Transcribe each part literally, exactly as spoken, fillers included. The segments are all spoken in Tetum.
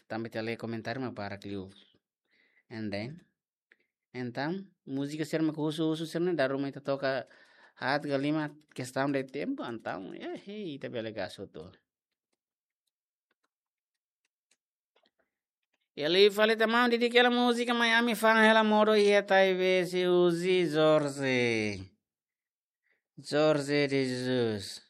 Tanba ita lee komentáriu mak barak liu. And then, entaun, múzika sira mak husu-husu sira-ne'e dala ruma ita toka haat ka lima, kestaun de tempu, entaun, eh, hei, ita bele gasu tu. Iha liu fali tan, maun, dedika hela múzika Mai Ami Fa'an Hela Modo iha Taibesi, husi Jorge. Jorge de Jesus.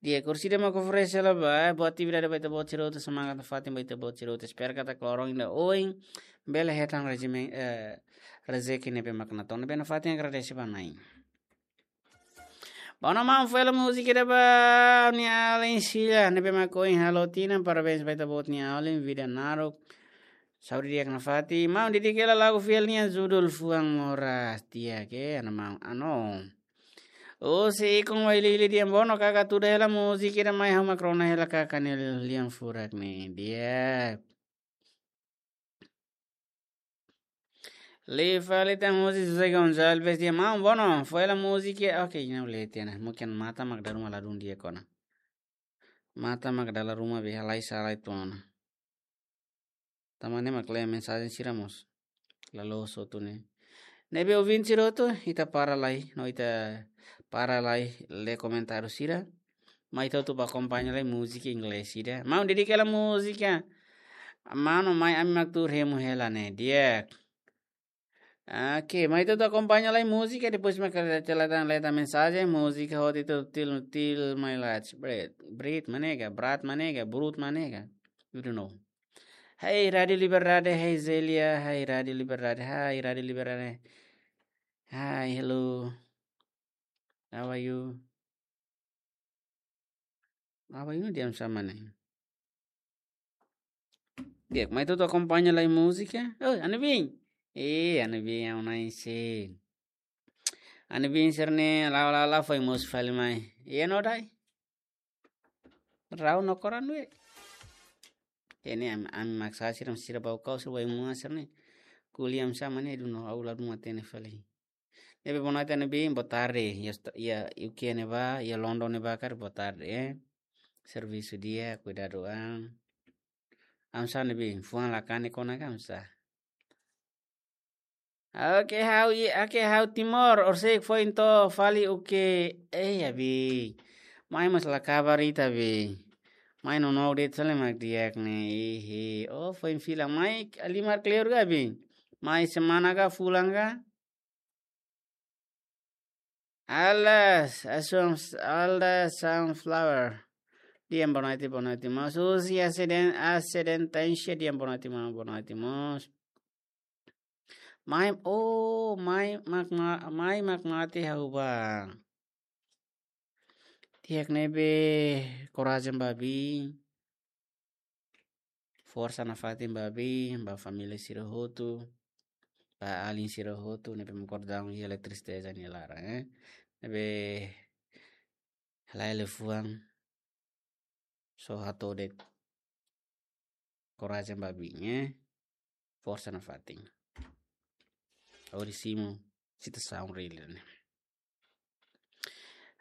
Di'ak, orsida mak oferese hela ba, eh, boa atividade ba ita-boot sira hotu, semangat nafatin ba ita-boot sira hotu. Espera katak loron ida oin bele hetan rejimen, eh, rezeki ne'ebé mak natoon. Ne'ebé nafatin agradese ba Na'i. Bom, maun, fó hela múzika ida ba nia alin sira ne'ebé mak ohin halo tinan, parabéns ba ita-boot nia alin, vida naruk, saúde di'ak nafatin. Maun, dedika hela lagu fiel nian, judul Fuan Moras, di'ak, eh, ana maun, ano. Husi Ikon Wailili, di'ak, Bono, kaka tuda hela múzika ida mai, ha'u mak rona hela kaka nia lian furak ne'e, di'ak. Liu fali tan husi José Gonçalves, di'ak, maun, Bono, fó hela múzika, oke, ina ulete na, mungkin matan mak dala ruma ladún di'ak ona. Matan mak dala ruma be halai sala itu ona. Tanba ne'e mak lee mensajen sira mós la loos hotu ne'e. Ne'ebé ouvinte sira hotu, ita para lai, no ita para lai lee komentáriu sira. Mai ita hotu bá akompaña lai múzika inglés ida. Maun, dedika hela múzika Mano, Mai Ami Mak Tuur Hemu Hela ne'e, di'ak. Oke, mai ita hotu akompaña lai múzika, depois mak ita lee tan, lee tan mensajen, múzika hotu itu Til, Til Mai Lach, Brit, Brit mak ne'e ka, Brat mak ne'e ka, Brut mak ne'e ka. You don't know. Hai Rádio Liberdade, hai Zélia, hai Rádio Liberdade, hai Rádio Liberdade. Hi, hello. How are you? How are you, di'ak, oinsá mak ne'e? Di'ak, mai ita hotu akompaña lai múzika. Oh, Ana Bin. Eh, Ana Bin, ha'u-nia alin sira. Ana Bin sira-ne'e, la, la, la, foin mosu fali mai. Iha ne'e duni. Rau no koran we. Ne'e ami, ami mak sasán sira, sira bau kau, sira bau mua sira-ne'e. Ko'alia oinsá mak ne'e duni, ha'u ladún hatene fali. Ne'ebé boa noite Ana Bin, boa tarde. Iha, iha U K ne'ebá, iha London ne'ebá karik boa tarde, eh. Servisu di'ak, kuidadu an. Oinsá Ana Bin, fuan la kanek ona ka oinsá? Oke, ha'u i, oke, ha'u Timor, orsida foin to'o fali U K, eh, ya Bin. Mai mós la kabar ita Bin. Mai nonook de'it sale mak di'ak ne'e, ihi. Oh, foin fila mai, halimar kleur ka Bin? Mai semana ka, fulan ka? Alas, asum, Alda Sunflower. Di'ak, boa noite, boa noite, mós. Husi asiden, asidente, di'ak, boa noite, mós, boa noite, mós. Mai, oh, mai mak ma-, mai mak mate ha'u ba. Di'ak ne'ebé, korajen ba Bin. Forsa nafatin ba Bin, ba família sira hotu, ba alin sira hotu, ne'ebé mak kordaun iha tristeza nia laran, eh. Ne'ebé halai liafuan, só hato'o de'it. Korajen ba Bin, eh. Forsa nafatin. Ha'u simu situasaun reál ne'e.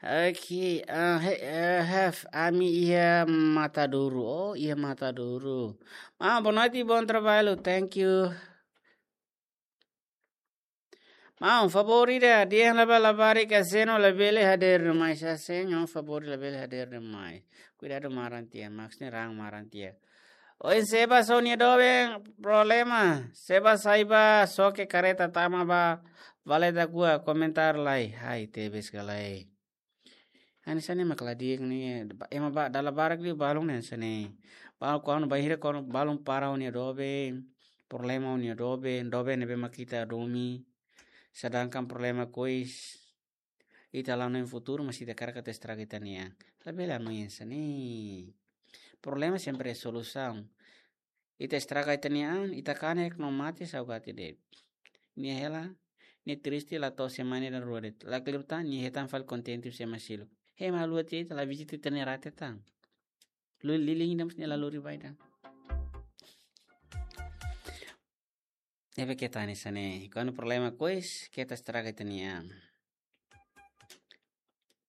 Oke, ah, he, eh, have, ami iha Matadouro. Oh, iha Matadouro. Ah, boa noite, bom trabalho. Thank you. Maun, favór ida, dehan labarik Aseno labele hadeer mai, Aseno favór labele hadeer mai. Kuidadu maran tiha, maksudnya raan maran tiha. Ohin Seba só nia doben problema. Seba sai ba, xoke kareta tama ba, valeta kua komentár lai. Hai, tebes ka lae. Hanesan ne'e mak la di'ak ne'e, ba-, ema ba, dala barak liu balun ne'e hanesan ne'e. Ba, kuandu bainhira kuandu balun para ó-nia doben, problema ó-nia doben, doben ne'ebé mak ita domin. Sedangkan problema kois, ita la hanoin futuru, mas ita hakarak atu estraga ita-nia an. Labele hanoin hanesan ne'e. Problema sempre iha solusaun. Ita estraga ita-nia an, ita kanek no mate saugati de'it. Nia hela, nia triste la to'o semana ida rua de'it. La kleur tan, nia hetan fali kontente husi ema seluk. Ema haluha tiha ita la vizita ita-nia rate tan. Luli lili ida mós nia la lori ba ida. Ne'ebé keta hanesan ne'e. Kuandu problema kois, keta estraga ita-nia an.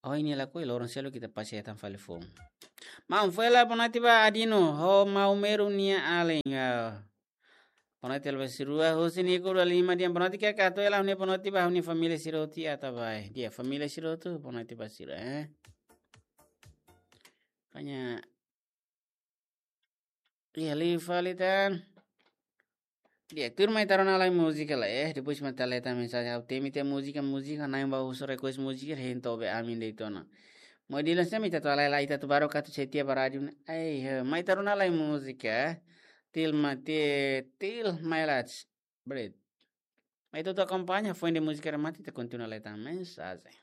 Oh, nia lakohi, loron seluk ita pasti hetan fali foun. Maun, foin hela boa noite ba Adino, ho maun Meru nia alin. Ah. Boa noite, Elvis Rua, husi Nico da Lima, di'ak, boa noite, ke kato ela, ha'u-nia boa noite ba ha'u-nia família sira hotu iha Atabae. Di'ak, família sira hotu, boa noite ba sira, eh. Hanya, di'ak, liu fali tan. Di'ak, tuir mai ita rona lai múzika lai, eh. Depois mai ita leta mensajen, ha'u temi tiha múzika, múzika, na'in ba husu request múzika, hein tobe ami de'it ona. Maun Dilan, se ita atu halai lai, ita atu baru katu setia ba rádiu ne'e. Ai, eh, mai ita rona lai múzika, eh. Til ma-, ti-, til mai lats. Bret. Mai ita atu akompaña, foin de múzika remata, ita kontinua leta mensajen.